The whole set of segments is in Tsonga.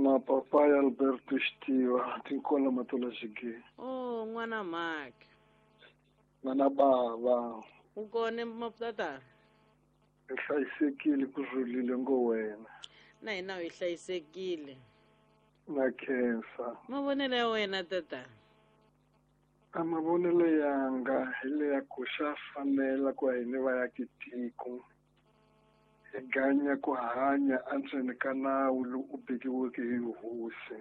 Na papayi Alberto Xitiva tinkola matola xigeni. Oh, n'wana mhaka. N'wana bava. U kone mapatata. Hi hlayisekile ku rhulile ngo wena. Na hina hi hlayisekile. Na khensa. Mavonelo ya wena tata. A mavonelo yanga hi leya ku xa fanela ku hina vayaki tiko hi ganya ku hanya endzeni ka nawu lowu u vekiweke hi hosi.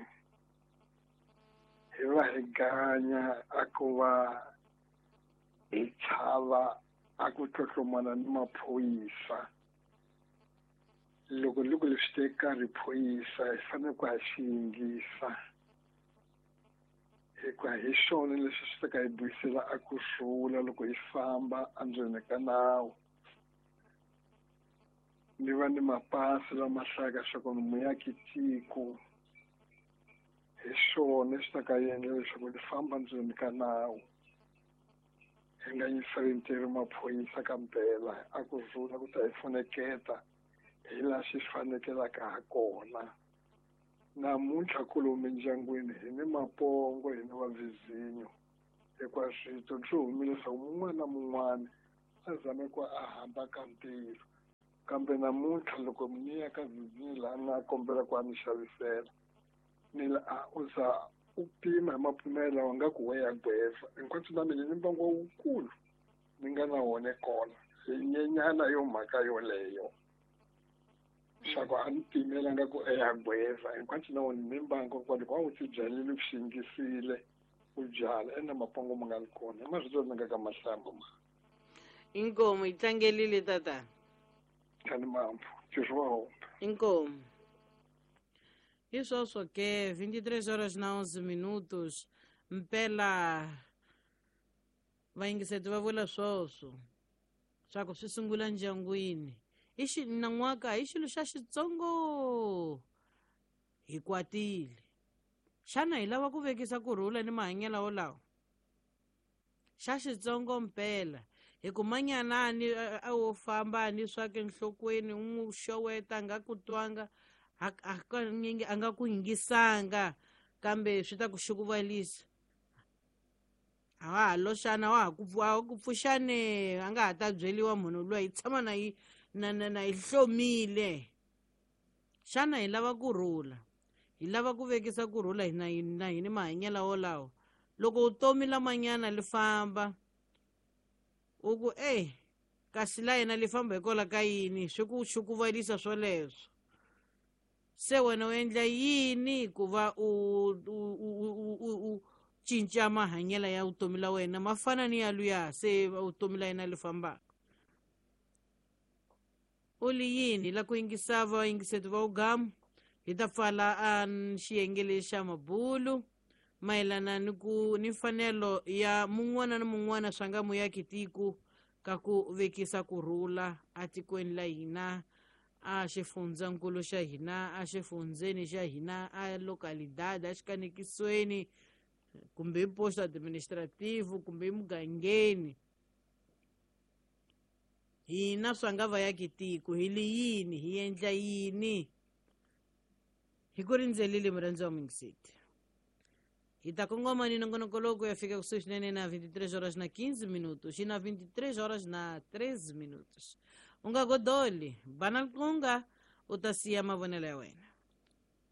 Hi va hi ganya a ku va hi chava a ku tlotlomana ni maphorisa. Loko loko leswi teka riphoyisa hi fanele ku ha xi yingisa. Hikuva hi xona leswi swi ta ka hi buyisela a ku rhula loko hi famba endzeni ka nawu. Ni va ni mapasi lama hlayaka leswaku ni muyaki tiko. Hi xona swi ta ka endla leswaku ni famba ndzeni ka nawu. Hi nga yingiseli maphorisa ka mpela a ku rhula ku ta hi pfuneketa hi laha xi fanekelaka ha kona. Namuntlha kolomu mindyangwini hi ni mapongo hi ni vavizinyo hikuva swito swi humile leswaku mun'wana na mun'wana a zame ku a hamba ka ntirho. Kambe namuntlha loko ni ya ka vizinyo laha ni nga kombela ku a ni xavisela ni la a u za u pima hi mapimelo lawa nga ku we ya gweva hinkwaswo na mina ni mbangu wukulu ni nga na wona kona hi nyenyana yo mhaka yoleyo. Swa ku a ni pimela nga ku eya gweva hinkwaswo na wona ni mbangu kwa loko a wu tibyalile u xi yingisile u byala ene mapongo ma nga ri kona hi marito ni nga ka mahlamba ma. Inkomo yi tlangelile tata. Kani mampfu ntirho wa hombe. Inkomo. Hi sweswo ke 23 horas na 11 minutos. Mpela vayingiseti va vula swoswo swa ku swi sungula ndyangwini. I xi nan'waka hi xilo xa xitsongo hi kwatile. Xana hi lava ku vekisa ku rhula ni mahanyelo wolawo? Xa xitsongo mpela hi ku manyanani a wo famba ni swa ke nhlokweni u n'wi xoweta a nga ku twanga hakanyingi a nga ku yingisanga kambe swi ta ku xukuvalisa. A wa ha loxana wa ha ku ku pfuxane a nga ha ta byeriwa munhu luya hi tshama na yi na na na hi hlomile. Xana hi lava ku rhula? Hi lava ku vekisa ku rhula hina na hini mahanyelo wolawo? Loko vutomi lamanyana li famba u ku ey kasi la yena li famba hikwalaho ka yini swi ku xukuvalisa swoleswo. Se wena u endla yini ku va u u cinca mahanyelo ya vutomi la wena ma fana ni ya luya se vutomi la yena li fambaka? U li yini la ku yingisa vayingiseti va ugamu hi ta pfala a xiyenge lexi xa mabulu mayelana ni ku ni mfanelo ya mun'wana na mun'wana swa nga muyaki tiko ka ku vekisa ku rhula atikweni la hina a xifundzankulu xa hina a xifundzeni xa hina a localidade a xikanekisweni kumbe hi posto administrativo kumbe emugangeni. Hina swa nga vayaki tiko hi li yini hi endla yini? Hi ku rindzelile murhandzi wa muyingiseti. Hi ta kongoma ni nongonoko lowu ku ya fika kusuhi swinene na 23 horas na 15 minutos xi na 23 horas na 13 minutos. U nga godoli bana liqunga u ta siya mavonelo ya wena.